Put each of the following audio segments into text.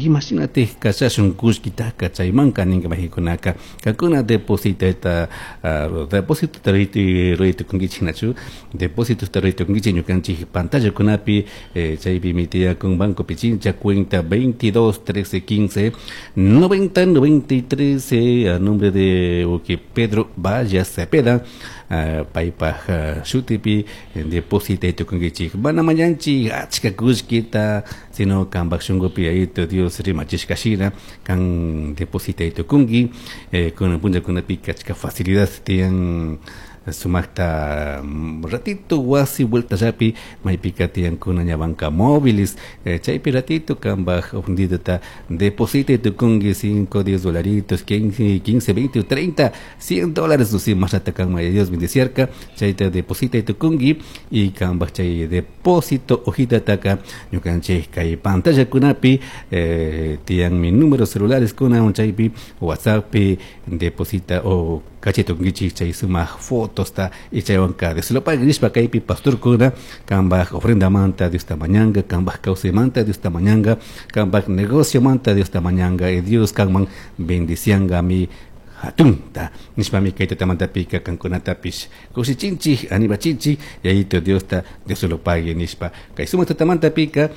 Imashinatik kachashun kullkitaka chaymanka ninka majikunaka kankuna depositata depósito ruray tukunkichik nachu depósito ruray tukunkichik ñukanchik pantallakunapi chaypimi tiyakun Banco Pichincha, cuenta 22 13 15 90 93, a nombre de Pedro Valle Cepeda, paypaj shutipi depositay tukunkichik. Mana mañanchik achka kullkita, sino kanpak shunkupi Yayito Dios rimachishka shina kan depositay tukunki. Kunan punllakunapika achka facilidad tiyan, sumakta ratito wasi vueltallapi maypika tiyankuna ña banca móviles, chaypi ratito kanpak ofrendita depositay tukunki, 5, 10 dolaritos, 15, 15, 20, 30, 100 dólares, no mashnata kanman Dios bendiciarka, chayta depositay tukunki. Y kanpak chay depósito hojitataka ñukanchik kay pantallakunapi tiyanmi números celulares kuna, chaypi WhatsApppi deposita o kachay tukunkichik chay sumak fotosta y chaywanka Dios lo pague nishpa kaypi pastorkuna kanpak ofrendamanta Diosta mañanka, kanpak kawsaymanta Diosta mañanka, kanpak negociomanta Diosta mañanka y Dios kanman bendiciankami hatunta nishpami kay tutamantapika kankunatapish kushichinchik, animachinchik, Yayito Diosta Dios lo pague nishpa. Kay sumak tutamantapika,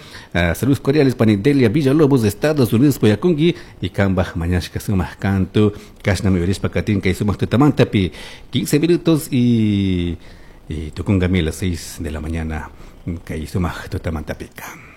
saludos cordiales pani Delia Villalobos de Estados Unidos puyakunki y kanpak mañashka sumak kantu kashnami uyarishpa katin kay sumak tutamantapi. 15 minutos y tukunkami las 6 de la mañana kay sumak tutamantapika.